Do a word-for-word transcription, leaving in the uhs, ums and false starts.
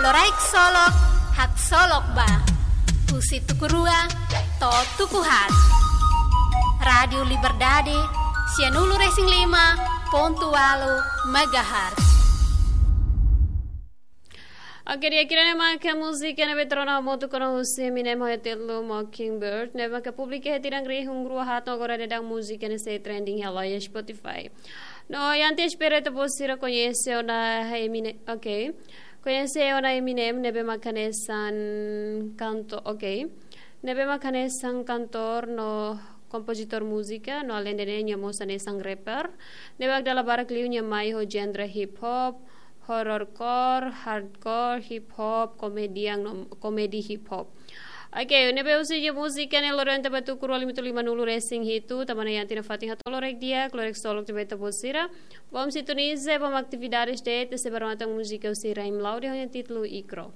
Loraik solok, haksolok ba. Husi tuku rua to'o tuku haat. Rádiu Liberdade, sianulu-resin-lima pontu ualu megahertz. Oke, di'ak, ida-ne'e maka múzika ne'ebé trono motu kono husi Eminem ho títulu Mockingbird, ne'ebé maka publika iha tinan rihun rua haat no agora daudaun múzika ne'e sei trending iha loja Spotify. No, iha antes espera ita-boot sira koñese ona Eminem, oke. Koñese ona Eminem ne'ebé maka hanesan kanto, oke. Ne'ebé maka hanesan kantór no kompozitór múzika, no alende ne'e nia mós hanesan rapper. Ne'ebé dala barak liu nia mai ho genre hip hop, horrorcore, hardcore, hip hop, komedian no komedi hip hop. Oke, ne'ebé husi nia múzika ne'e loron ida ba tuku rua lima-nulu-resin-hitu, tanba ne'e iha tinan fatin hato'o loraik di'ak, loraik solok ba ita-boot sira. Bom sintoniza, bom atividades de'it, sei ba remata múzika husi Raim Laude ho nia títulu Ikro.